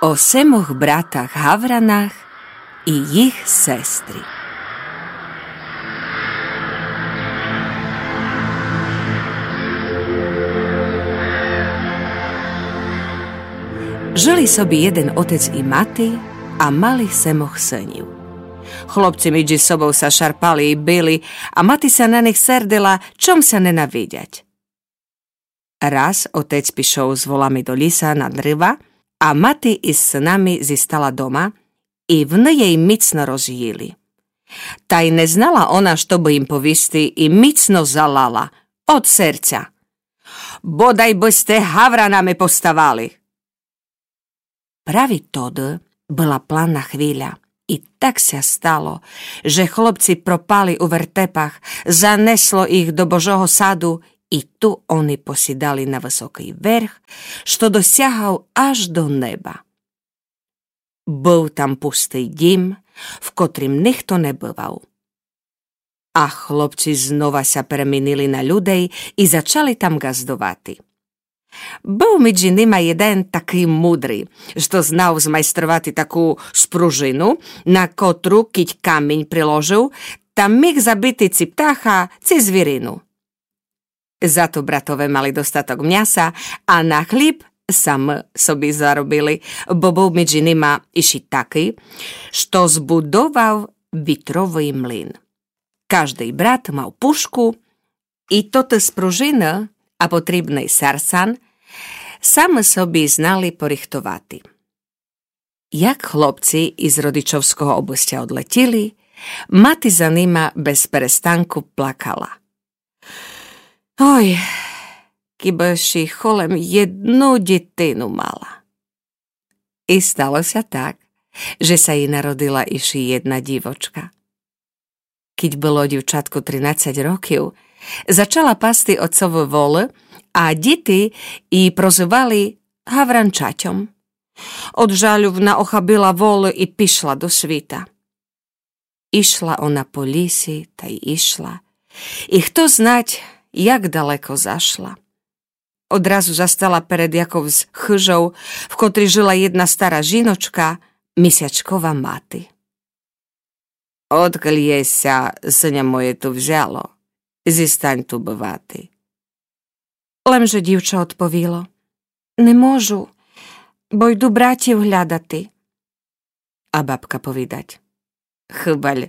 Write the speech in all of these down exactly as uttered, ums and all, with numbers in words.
О семох братах Гавранах и їх сестри. Жили собі єден отец и мати, а мали семох сынів. Хлопци меджі собов ся шарпали и били, а мати ся на них сердила, чом ся ненавидять. Раз отець пішов з волами до ліса на дрива, а мати из сынами зістала дома, и вони єй міцно розїли. Та й не знала она, што бы їм повісти, и міцно залала од серця: «Бодай бы сте гавранами поставали!» Праві тоды была планна хвиля, и так ся стало, же хлопци пропали у вертепах, занесло їх до Божого саду, и ту они посідали на высокый верх, што досягав аж до неба. Быв там пустый дїм, в котрім нихто не бывав. А хлопци знова ся перемінили на людей и зачали там ґаздовати. Быв меджі нима єден такый мудрый, што знав змайстровати таку спружину, на котру, кідь камінь приложив, та міг забити ци птаха, ци звірину. Зато братове мали достаток мняса, а на хлїб самы собі заробили, бо быв меджі нима ище такый, што збудовав вітровый млин. Каждый брат мав пушку, и тоты спружины, а потрібный сарсан самы собі знали порихтовати. Як хлопци из родичовского обыстя одлетїли, мати за нима без перестанку плакала: «Ой, кібы ши холем єдну дїтину мала!» И стало ся так, же ся єй народила ище єдна дївочка. Кідь было дївчатку тринадцять років, зачала пасти отцовы волы, а дїти ї прозывали гавранчатьом. Од жалю вона охабила волы и пішла до світа. Ішла она по лісі та й ішла, и хто знать, як далеко зашла. Одразу застала перед якоюсь хыжов, в котрій жила єдна стара жіночка, Місячкова мати. «Одкуль єсь ся, сыня моє, ту взяло? Зістань ту бывати». Лемже дївча одповіло: «Не можу, бо йду братів глядати». А бабка повідать: «Хыбаль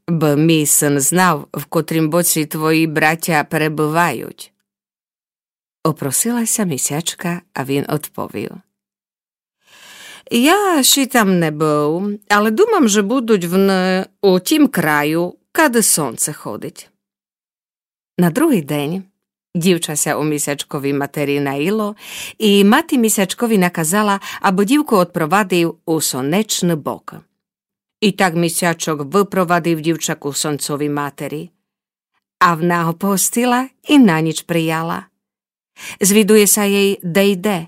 бы мій сын знав, в котрім боці твої братя перебывають». Опросила ся Місячка, а він одповів: «Я ши там не быв, але думам, же будуть вны у тім краю, кады сонце ходить». На другый день дївча ся у Місячковій матери наїло, и мати Місячковій наказала, абы дївку одпровадив у сонечный бок. И так Місячок выпровадив дївча ку сонцовій матери. А вна го погостила и на ніч прияла. Звідує ся єй, де йде.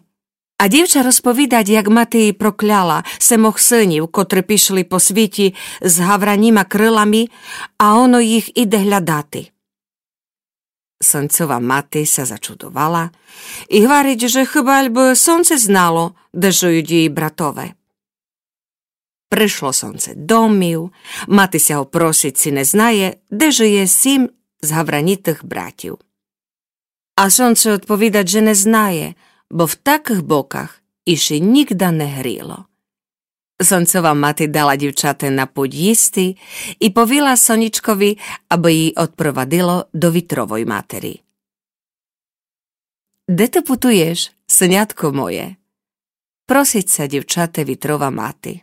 А дївча розповідать, як мати ї прокляла семох сынів, котры пішли по світі з гавраніма крылами, а оно їх іде глядати. Сонцова мати ся зачудовала и гварить, же хыбаль бы сонце знало, де жують її братове. Пришло сонце домів, мати ся го просить, ци не знає, де жиє сім з гавранітых братів. А сонце одповідать, же не знає, бо в такых боках ище нїґда не гріло. Сонцова мати дала дївчату на путь їсти и повіла сонїчкові, абы ї одпровадило до вітровой матери. Де ты путуєш, сынятко моє? Просить ся дївчате вітрова мати.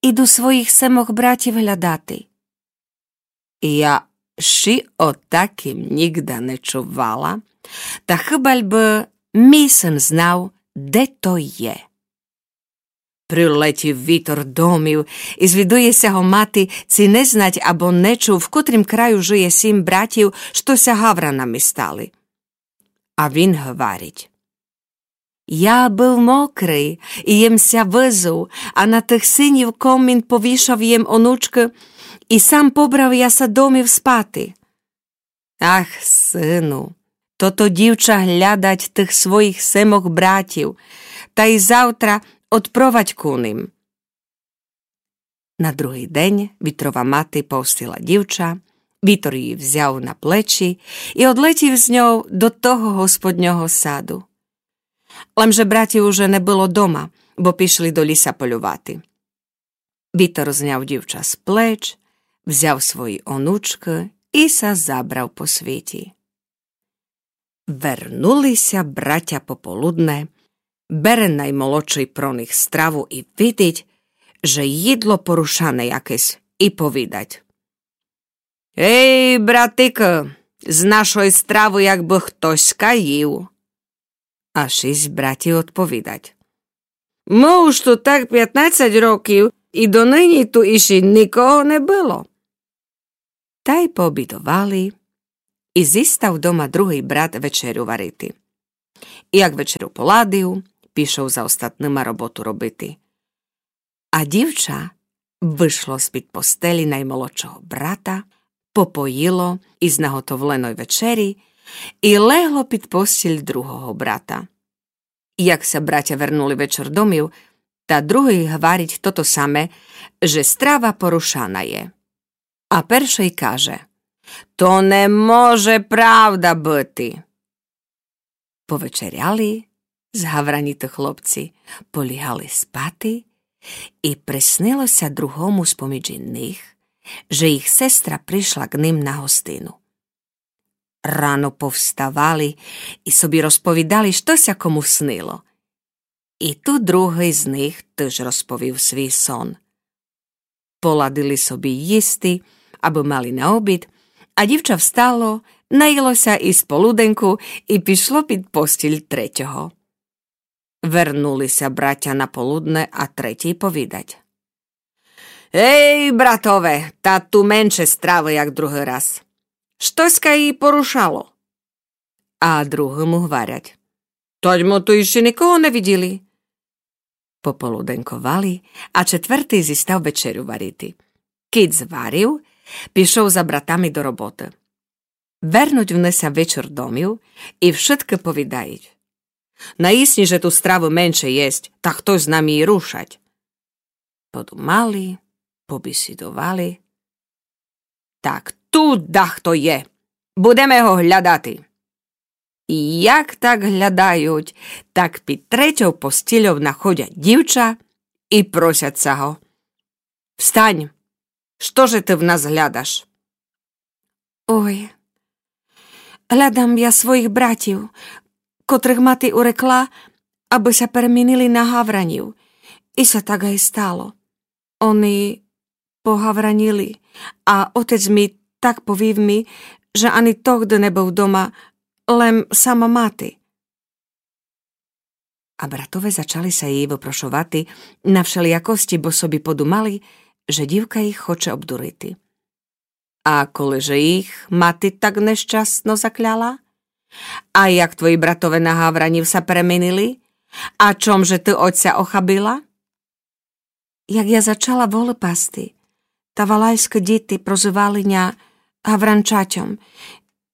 Іду своїх семох братів глядати. Я ши о таким нїґда не чувала, та хыбаль бы мій сын знав, де то є. Прилетїв вітор домів и звідує ся го мати, ци не знать або не чув, в котрім краю жиє сім братів, што ся гавранами стали. А він гварить: Я быв мокрый и єм ся вызув, а на тых синів комін повішав єм онучкы, и сам побрав я ся домів спати. Ах, сину, тото дївча глядать тых своїх семох братів, та й завтра одпровадь ку ним». На другый день вітрова мати повстила дівча, вітор її взяв на плечі і одлетів з ньов до того господнього саду. Лемже братів уже не было дома, бо пішли до ліса полювати. Вітор зняв дівча з плеч, взяв свої онучкы і ся забрав по світі. Вернули ся братя пополудне, бере наймолодшый про них страву і видить, же їдло порушане якесь, і повідать: «Ей, братикы, з нашой стравы як бы хтоська їв». А шість братів одповідать: «Мы уж ту так пятнадцять років, і доныні ту іщи никого не было». Тай пообідовали, і зістав дома другый брат вечерю варити. І як вечерю поладив, пішов за остатныма роботу робити. А дівча вышло з-під постелі наймолодшого брата, попоїло из наготовленой вечері і легло під постіль другого брата. Як ся братя вернули вечер домів, та другый гварить тото саме, же страва порушана є. А першый каже: «То не може правда быти». Повечеряли, згавраніты хлопці, полігали спати, і приснило ся другому споміж них, же їх сестра пришла к ним на гостину. Рано повставали і собі розповідали, што ся кому снило. І ту другый з них тыж розповів свій сон. Поладили собі їсти, абы мали на обід, а дівча встало, наїло ся из полуденку і пішло під постіль третього. Вернули ся братя на полудне, а третій повідать: «Ей, братове, та ту менше стравы, як другый раз. Штоська її порушало». А другому гварять: «Тадь мы ту іщи никого не виділи». Пополуденковали, а четвертый зістав вечерю варити. Кидь зварив, пішов за братами до роботы. Вернуть вони ся вечер домів і вшыткы повідають: «Наїсні же ту стравы менше єсть, та хтось з нами її рушать». Подумали, побісідовали. «Так ту дахто є. Будеме го глядати». І як так глядають, так під третьов постільов находять дівча і просять ся го: «Встань! Што же ты в нас глядаш?» «Ой, глядам я своїх братів, котрых мати урекла, абы ся перемінили на гавранів. І ся так ай стало. Они погавранили, а отець мій так повів ми, же ани тогды не быв дома, лем сама мати». А братове зачали ся її выпрошовати на вшелиякості, бо собі подумали, же дівка їх хоче обдурити. «А коли же їх мати так нещасно закляла? А як твої братове на гавранів ся перемінили? А чом же ты отця охабила?» «Як я зачала волы пасти, та валайськы діти прозывали ня гавранчатьом,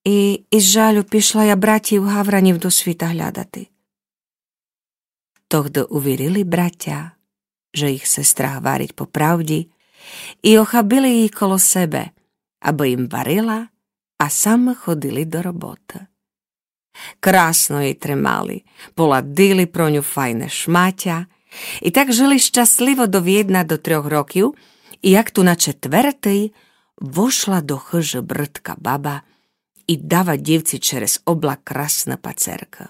і из жалю пішла я братів гавранів до світа глядати». Тогды увірили братя, же їх сестра гварить по правді, і охабили її коло себе, абы їм варила, а самы ходили до роботы. Красно її тримали, поладили про ню файне шматя, і так жыли щасливо до вєдна до трьох років, і як ту на четвертый вошла до хыжы брыдка баба і дава дівці через облак красны пацеркы.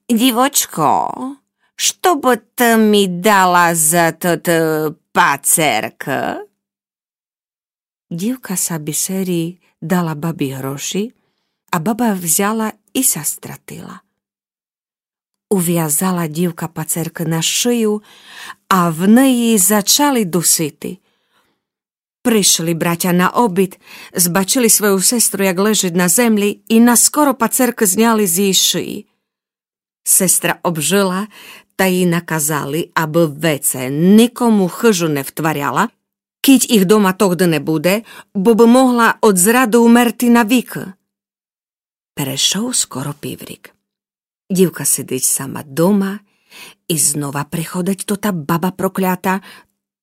«Дівочко, што бы ты ми дала за тот, е, пацеркы?» Дівка ся бісерій дала бабі гроші, а баба взяла і ся стратила. Увязала дівка пацеркы на шию, а в неї зачали дусити. Пришли братя на обід, збачили свою сестру, як лежить на землі, і наскоро пацеркы зняли з її шиї. Сестра обжыла, та їй наказали, абы веце никому хыжу не втваряла, кідь їх дома тогды не буде, бо бы могла од зрады умерти навікы. Перешов скоро піврік. Дівка сидить сама дома И знова приходить тота баба проклята,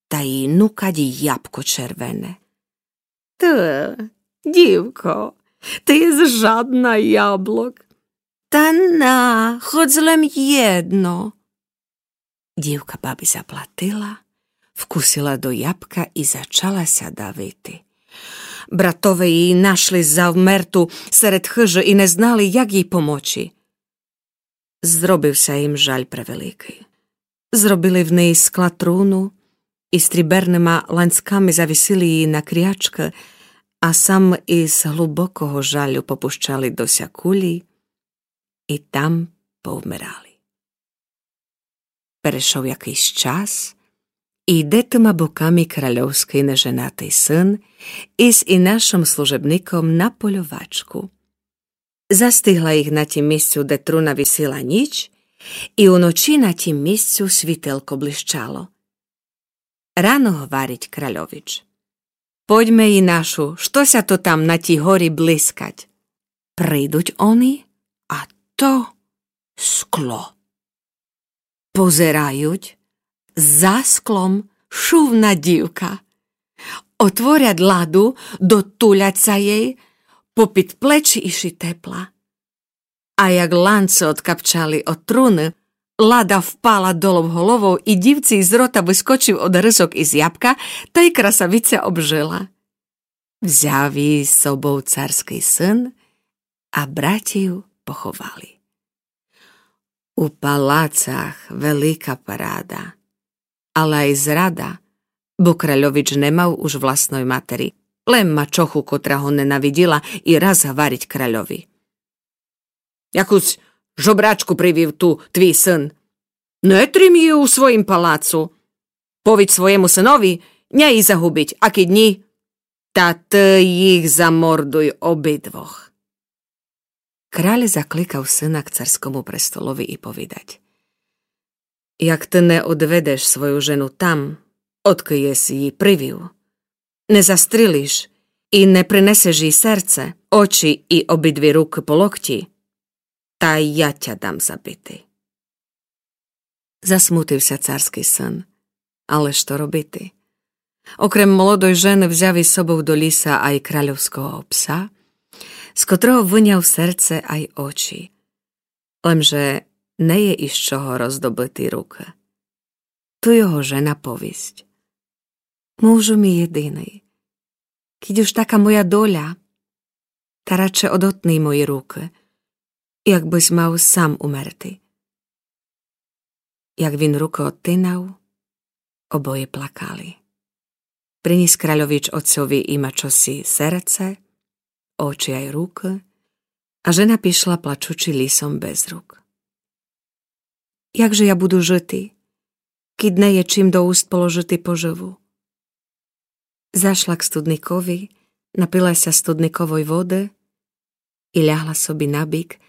та їй нукать ябко червене. Ты, дївко, ты єс жадна яблок. Та на, хоц лем єдно. Дївка баби заплатила, вкусила до ябка и зачала ся давити. Братове її нашли завмерту серед хыжы и не знали, як їй помочи. Зробив ся їм жаль превеликый. Зробили в неї з скла труну и стріберныма ланцками завісили її на крячкы, а сам из глубокого жалю попущали до ся кулї и там повмирали. Перешов якыйсь час, и йде тыма боками кральовскый неженатый сын из инашым служебником на польовачку. Застигла їх на тім місцю, де труна висила, ніч, и уночи на тім місцю світелко блищало. Рано говорить кральович: Подьме, инашу, што ся то там на тій горі блискать? Придуть они, а то скло. Позерают, за склом шумна дївка. Отворять ладу, дотулять ся єй, попід плечі и ши тепла. А як ланци одкапчали од труны, лада впала долов головов и дївци из рота выскочив одгрызок из ябка, та й красавиця обжыла. Взяв її з собов царскый сын, а братів поховали. У палацах велика парада, але ай зрада, бо кральович не мав уж власной матери, лем мачоху, котра го ненавидїла, и раз говорить кральови: Якусь жобрачку привів ту твій сын. Не трим її у своїм палацу. Повідь своєму сынови, нє її загубить, а кидь ні, та ты їх замордуй обидвох. Краль закликав сына к царскому престолови и повідать: Як ты не одведеш свою жену там, одкы єс її привів, не застрілиш и не принесеш їй серце, очи и обидві рукы по локти, та я тя дам забити. Засмутив ся царскый сын. Але што робити? Окрем молодой жены взяв из собов до лїса ай кральовского пса, з котрого выняв серце ай очи. Лемже не є из чого роздобыти рукы. Ту його жена повість: Мужу мій єдиный, кидь уж така моя доля, та радше одотни мої рукы, як бысь мав сам умерти. Як він рукы одтинав, обоє плакали. Принїс кральович оцьови и мачосі серце, очи ай рукы, а жена пішла плачучи лїсом без рук. Як же я буду жыти, кидь не є чим до уст положыти пожыву? Зашла к студникови, напила ся студниковой воды и лягла собі на бік,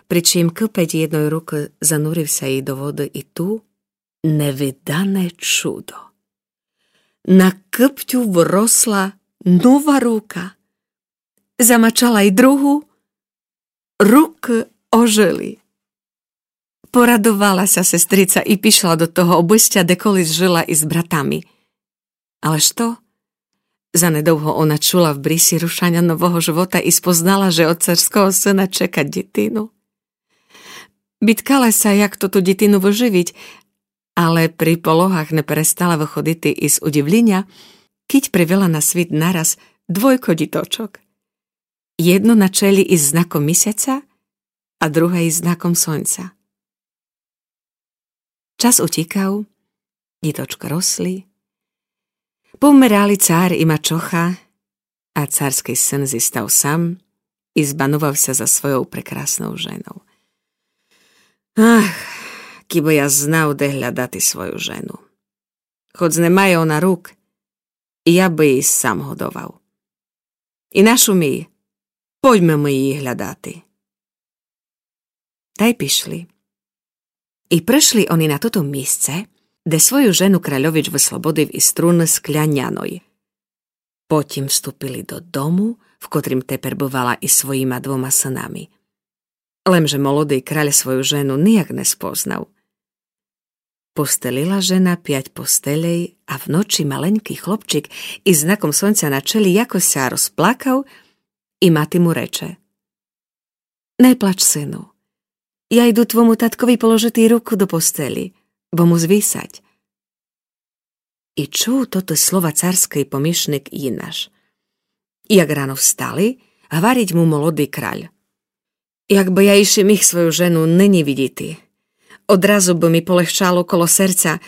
при чим кыпець єдной рукы занурив ся їй до воды и ту, невидане чудо. На кыптю выросла нова рука. Замачала й другу, рукы ожыли. Порадовала ся сестрица и пішла до того обыстя, де колись жыла из братами. Але што? Занедовго она чула в брисі рушаня нового жывота и спознала, же од царского сына чека дїтину. Биткала ся, як то ту дїтину выжывіт, але при пологах не перестала выходити из удївлїня, кидь привела на світ нараз двойко дїточок. Єдно на челї из знаком місяця, а друге из знаком сонця. Час утїкав, дїточка росли. Повмирали цар и мачоха, а царскый сын зістав сам и збанував ся за свойов прекраснов женов. Ах, кибы я знав, де глядати свою жену. Хоц не має она рук, я бы її сам годовав. Инашу мій, пойдьме мы її глядати. Тай пішли. И пришли они на тото місце, де свою жену кральович выслободив из труны скляняной. Потім вступили до дому, в котрім тепер бывала из своїма двома сынами. Лемже молодый краль свою жену нияк не спознав. Постелила жена пять постелей, а вночи маленькый хлопчик из знаком сонця на челї якось ся розплакав, и мати му рече: Не плач, сину. Я йду твому таткови положити руку до постелї, бо му звисать. И чув тоты слова царскый помішник Инаш. Як рано встали, гварить му молодый краль: Як бы я ище міг свою жену нынї видїти, одразу бы ми полегчало коло серця,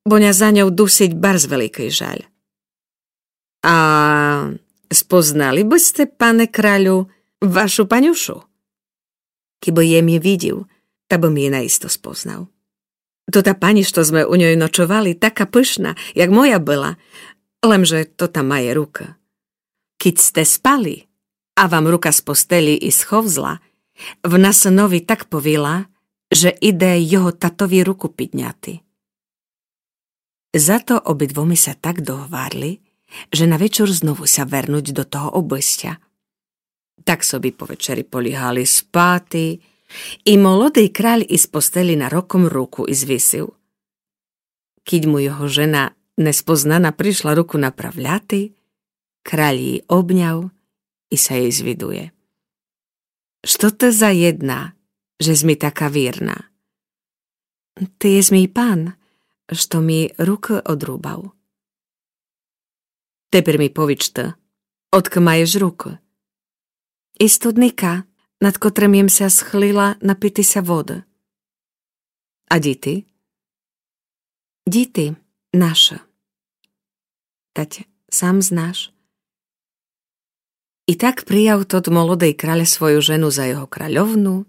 бо ня за ньов дусить барз великый жаль. А спознали бы сте, пане кралю, вашу панюшу? Кибы єм ї видїв, та бым ї наисто спознав. То та панї, што зме у ньой ночовали, така пышна, як моя была, лемже то та має рука. Кидь сте спали, а вам рука з постелї исховзла, вна снови так повіла, же иде його татови руку підняти. Зато обидвоми ся так догварли, же на вечур знову ся вернуть до того обыстя. Так собі по вечери полігали спати, и молодый краль из постелї нароком руку извисив. Кидь му його жена неспознана пришла руку направляти, краль ї обняв и ся єй звидує: Што ты за єдна, жес ми така вірна? Ты єс мій пан, што ми рукы одрубав. Тепер ми повіч ты, одкы маєш рукы? Из студника, над котрым єм ся схлила напити ся воды. А дїти? Дїти наши. Тать сам знаш. И так прияв тот молодый краль свою жену за його кральовну,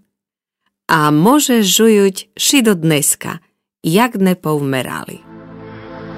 а може жують ши до днеска, як не повмерали.